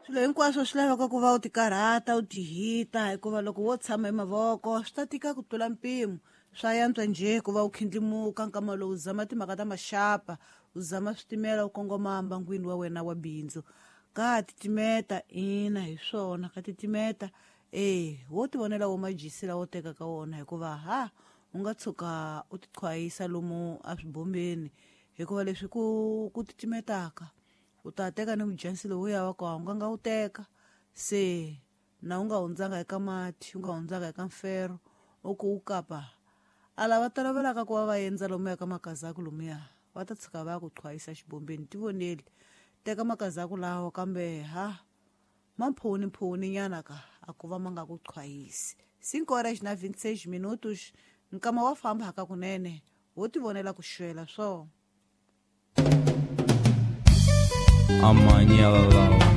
Swilo hinkwaswo swi laveka ku va u tikarhata, u tihita, hikuva loko wo tshama hi mavoko swi ta tika ku tlula mpimo. Swa yantswa njhe ku va u khindlimuka nkama lowu, u zama timhaka ta maxapa, u zama switimela u kongoma mbangwini wa wena wa bindzu. Ka titimeta, ina hi swona, ka titimeta. E wo tivonela wo majisi lawa u tekaka wona, hikuva ha u nga tshuka u tiqhwayisa lomu eswibombeni, hikuva leswi ku titimetaka u ta teka ni mujansi lowuya wa ka u nga wu teka, se na u nga hundzanga eka mati, u nga hundzanga eka mfero, u ku u kapa. A lava tolovelaka ku va va endza lomuya ka makazaku lomuya, va ta tshuka va ya ku qhwayisa xibombeni. Tivoneli, teka makazaku lawa, kambe ha mamphoni nyana ka a ku va ma nga ku qhwayisi. 5 horas na 26 minutos, nkama wa famba haka kunene, wo tivonela ku xwela swo. Amanyala.